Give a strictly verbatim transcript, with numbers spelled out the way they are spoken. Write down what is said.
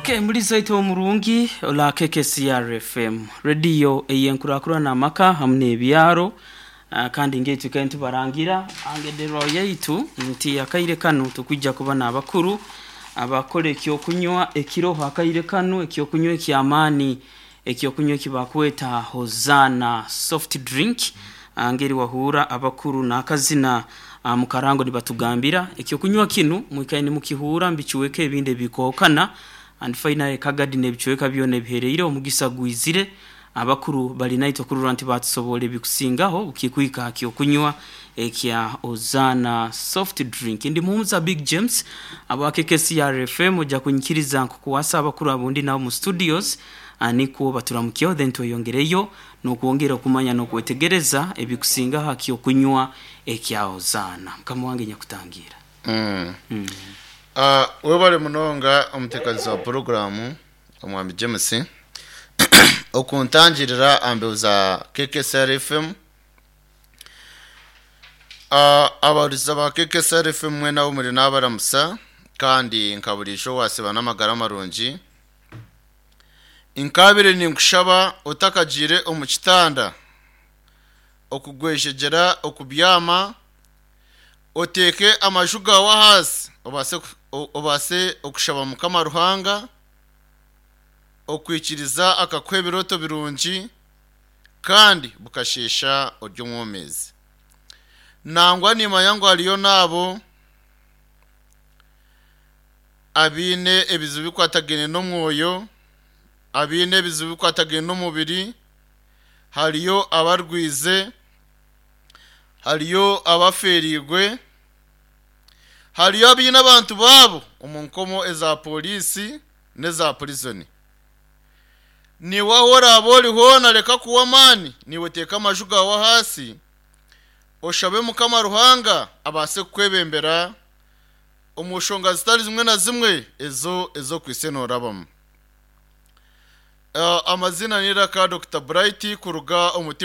Okay, muri zaito omurungi ola K K C R F M radio eyenkurakurana amaka hamwe n'ebyaro. uh, kandi ngeitu kandi tubarangira angederwa yaitu nti akaire kano tukwijja kuba n'abakuru abakora ekyokunywa ekiroho akaire kano, ekyokunywa ekyamaani, ekyokunywa ekibakweta Hozana soft drink. Ah, ngeri wahura abakuru n'akazina uh, mukarango nibatugambira ekyokunywa kinu mwikaye nimukihura mbikiweka ebindi ebikookana. And finally kagadi nebichweka byona ebihereire omugisa gwizire, abakuru bali naitwe kurura nti batusobola ebikusingaho ukikwika kyokunywa ekya Ozana soft drink. Ndi muhumuza Big James aba K K C R F M. Ojja kunyikiriza nkukuwasa abakuru abundi nabo mu studios, ah, nikwo baturamukyeho, then tweyongereyo n'okwongera okumanya n'okwetegereza ebikusingaho akyokunywa ekya Ozana. Mukama wange nyakutangira. Mm. mm. Uh, webale munonga omuteekanizi wa poroguramu omwami James okuntangirira ambeho za K K C R F M. uh, abahuriza ba K K C R F M mwena abo muri n'abaramusa kandi nkaburisha wasiba n'amagara marungi. Nkabire ninkushaba otakagiire omu kitanda okugweshegyera okubyama, oteeke amaju gawe ahaasi obaase o- obaase okushaba Mukama Ruhanga okwikiriza akakuha ebirooto birungi kandi bukasheesha ori omwomezi. Nangwa nimanya ngu hariyo naabo abiine ebizibu bikwatagaine n'omwoyo, abiine ebizibu bikwatagaine n'omubiri, hariyo abarwize, hariyo abaferiigwe, hariyo abiine abantu baabo omu nkomo eza polisi n'eza prison. Niwe aho oraaba ori hoona, reka kuwa amaani, niwe teeka amaju gawe ahaasi oshabe Mukama Ruhanga abaase kukwebembera omu nshonga zitari zimwe na zimwe ezo ez'okwise noorabamu. Uh, amazina ni Raka Doctor Bright kuruga omu timu.